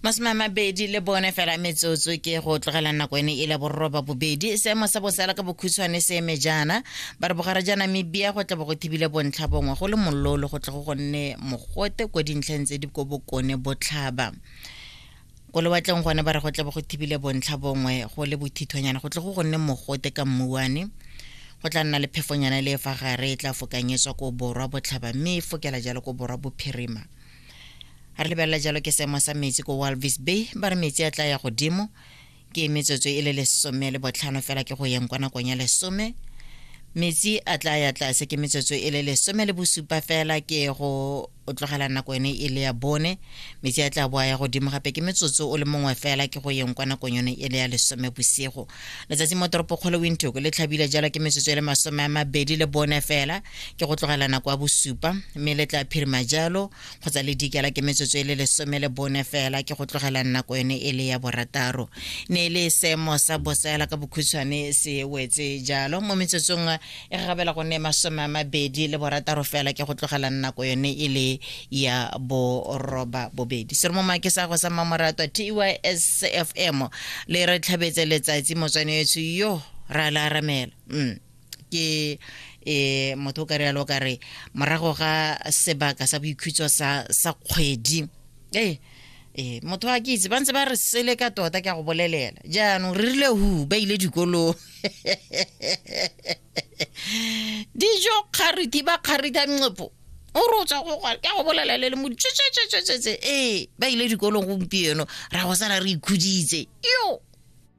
24 fela metsotso ke go tlogela nako ene e le borroba bobedi. Seemo sa bosala ka bokhutshwane se eme jaana, ba re bogare ja Namibia go tla bo go thibile bontlha bongwe, go le mololo, go tle go gonne mogote ko dintlheng tse di ko bokone botlhaba. Ko lewatleng gone ba re go tla bo go thibile bontlha bongwe, go le bothithonyana, go tle go gonne mogote ka mmuane. Go tla nna le phefonyana le e fa gare e tla fokanyetswa ko borwa botlhaba, mme e fokela jalo ko borwa bophirima. Ga re lebelela jalo ke seemo sa metsi ko Walvis Bay, ba re metsi a tla ya godimo ke metsotso e le 15 fela ke go yeng kwa nakong ya 10. Metsi a tla ya tlase ke metsotso e le 17 fela ke go tlogela nako ene e le ya 4. Metsi a tla boa ya godimo gape ke metsotso o le mongwe fela ke go yeng kwa nakong yone e le ya 10 bosigo. Letsatsi mo toropokgolo Windhoek le tlhabile jalo ke metsotso e le 24 fela ke go tlogela nako ya 7, mme le tla phirima jalo kgotsa le dikela ke metsotso e le 14 fela ke go tlogela nako yone e le ya 6. Ne e le seemo sa bosela ka bokhutshwane se wetse jalo mo metsotsong e gagabela go nne 26 fela ke go tlogela nako yone e le ya 8. Seromoma ke sa go sa mmamoratwa TYSFM le re tlhabetse letsatsi motswane etsho yo ra la aramela. Ke motho o ka rialo ka re morago ga sebaka sa boikhutso sa kgwedi, motho a ke itse ba ntse ba re sele ka tota, ke a go bolelela jaanong re rile hu ba ile dikolong dijo kgariti ba kgarita nqepo o re o tswa go ke a go bolela le le mo tsetse ba ile dikolong gompieno ra go sala re ikhuditse yo.